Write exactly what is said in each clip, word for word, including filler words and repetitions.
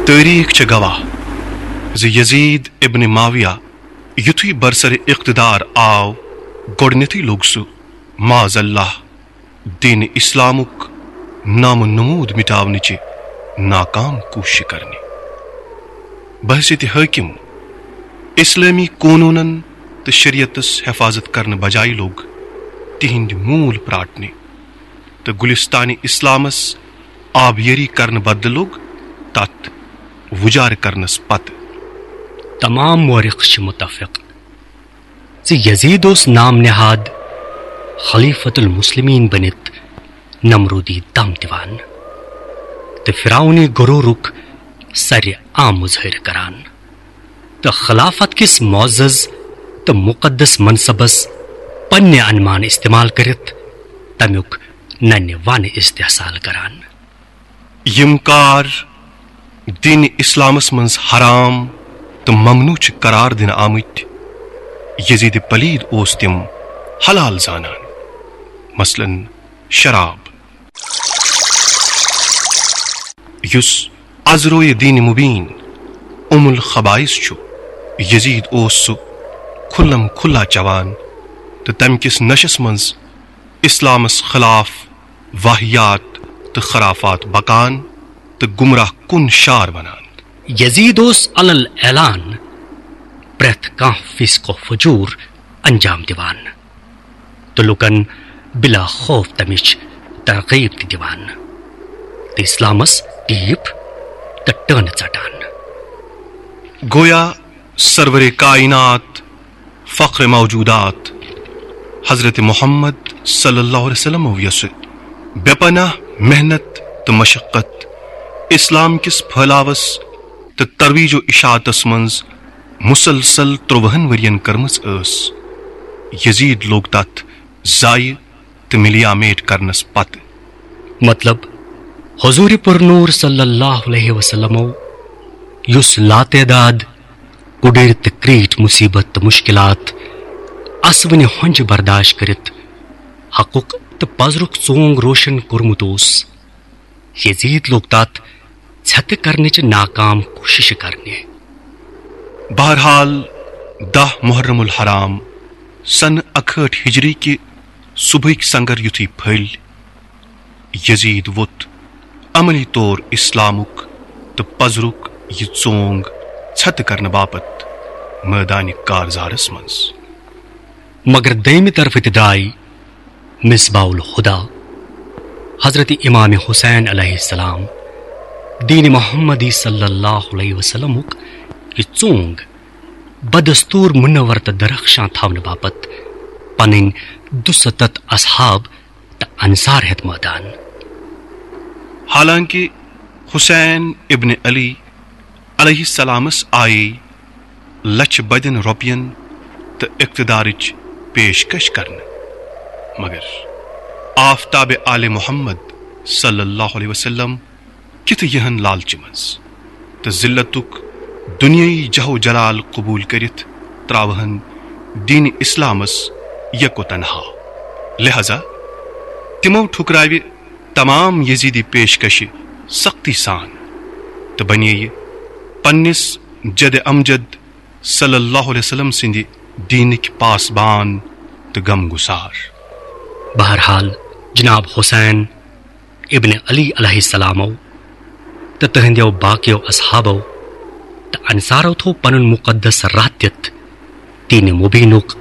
تٲریٖخ چھےٚ گواہ زِ یزید ابن معاویہ یُتھُے برسر اقتدار آو، گۄڈٕنیتھٕے لوٚگ سُہ، معاذ اللہ، دین اسلامُک نام و نمود مٹاونٕچہِ ناکام کوٗشش کرنہِ۔ بحیثیت حٲکم اسلٲمی قونوٗنن تہٕ شریعتس حفاظت کرنہٕ بجایہِ لوٚگ تِہنٛدۍ موٗل پراٹنہِ تہٕ گلستان اسلامس آبیٲری کرنہٕ بدلہٕ لوٚگ تتھ وُجارٕ کرنس پتہٕ۔ تمام مورخ چھِ متفق زِ یزید اوس نام نہاد خلیفۃ المسلمین بٔنِتھ نمرودی دم دِوان تہٕ فرعونی غرورُک سرِ عام مظٲہرٕ کران تہٕ خلافت کِس معزز تہٕ مقدس منصبس پننہِ انمان استعمال کٔرِتھ تمیُک ننہِ وانہِ استحصال کران۔ یِم کار دین اسلامس منٛز حرام تہٕ ممنوع چھِ قرار دِنہٕ آمٕتۍ، یزید پلید اوس تِم حلال زانان، مثلاً شراب، یُس ازروی دین مبین ام الخبائث چھُ۔ یزید اوس سُہ کھُلم کھُلا چوان تہٕ تمہِ کِس نشس منٛز اسلامس خلاف واہیات تہٕ خرافات بکان تہٕ گمراہ کُن شار ونان۔ یزید اوس علل اعلان پرٛٮ۪تھ کانٛہہ فسق و فجور انجام دِوان تہٕ لوٗکن بلا خوف تمِچ ترغیب تہِ دِوان تہٕ اسلامس ٹیٖپ تہٕ ٹٲنہٕ ژٹان۔ گویا سرور کائنات، فخر موجودات حضرت محمد صلی اللہ علیہ وسلم یۄسہٕ بے پناہ محنت تہٕ مشقت اسلام کِس پھٲلاوس تہٕ ترویج و اشاعتس منٛز مسلسل ترٛوہن ؤرین کٔرمٕژ ٲس، یزید لوٚگ تتھ ضایع تہٕ ملیا میٹ کرنس پتہٕ۔ مطلب، حضور پر نور صلی اللہ علیہ وسلمو یُس لاتعداد کُڑٕرۍ تہٕ کریٖٹھۍ مصیبت تہٕ مشکلات اسوٕنہِ ہۄنجہِ برداشت کٔرِتھ حقُک تہٕ پزرُک ژونگ روشن کوٚرمُت اوس، یزید لوٚگ تتھ ژھٮ۪تہٕ کرنٕچہِ ناکام کوٗششہِ کرنہِ۔ بہرحال، دَہ محرم الحرام سنہٕ اکہٲٹھ ہجری کہِ صبحٕکۍ سنگر یُتھُے پھٔلۍ، یزید ووٚتھ عملی طور اسلامُک تہٕ پزرُک یہِ ژونگ ژھٮ۪تہٕ کرنہٕ باپتھ مٲدانہِ کارزارس منٛز۔ مگر دوٚیمہِ طرفہٕ تہِ درٛاے مصباح الہدیٰ، حضرت امام حسین علیہ السلام، دین محمدی صلی اللہ علیہ وسلمُک یہِ ژونگ بدستور منور تہٕ درخشاں تھاونہٕ باپتھ پنٕنۍ دُستتھ اصحاب تہٕ انصار ہٮ۪تھ مٲدان۔ حالانکہ حسین ابن علی علیہ السلامس آیے لچھ بدین رۄپین تہٕ اقتدارٕچ پیشکش کرنہٕ، مگر آفتاب آل محمد صلی اللہ علیہ وسلم کِتھٕ یِہن لالچہِ منٛز تہٕ ذلتُک دُنیٲیی جاہ و جلال قبول کٔرِتھ ترٛاوہن دین اسلامس یک و تنہا۔ لہذا تِمو ٹھُکراوِ تمام یزیدی پیشکشہِ سختی سان تہٕ بنییہِ پننِس جد امجد صلی اللہ علیہ وسلم سٕنٛدِ دیٖنٕکۍ پاسبان تہٕ غم گسار۔ بہرحال، جناب حسین ابن علی علیہ السلامو تہٕ تہنٛدیو باقیو اصحابو تہٕ انصارو تھوو پنُن مقدس راہ دِتھ دین مبینُک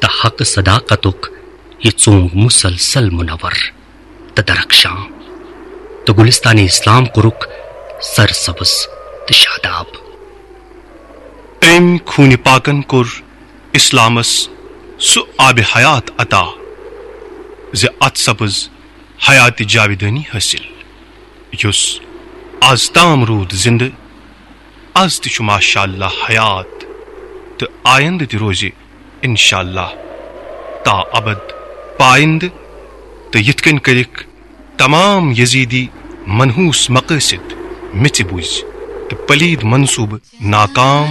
تہٕ حق صداقتُک یہِ ژونگ مسلسل منور تہٕ درخشاں، تہٕ گلستان اسلام کوٚرُکھ سرسبز تہٕ شاداب۔ أمۍ خوٗنہِ پاکن کوٚر اسلامس سُہ آبِ حیات عطا زِ اتھ سپٕز حیاتِ جاویدٲنی حٲصِل، یُس از تام روٗد زِندٕ، از تہِ چھُ ماشاء اللہ حیات تہٕ آیندٕ تہِ روزِ انشاء اللہ تا ابد پایندٕ۔ تہٕ یِتھ کٔنۍ کٔرِکھ تمام یزیدی منحوس مقٲصد میٚژِ بُزۍ تہٕ پلید منصوٗبہٕ ناکام۔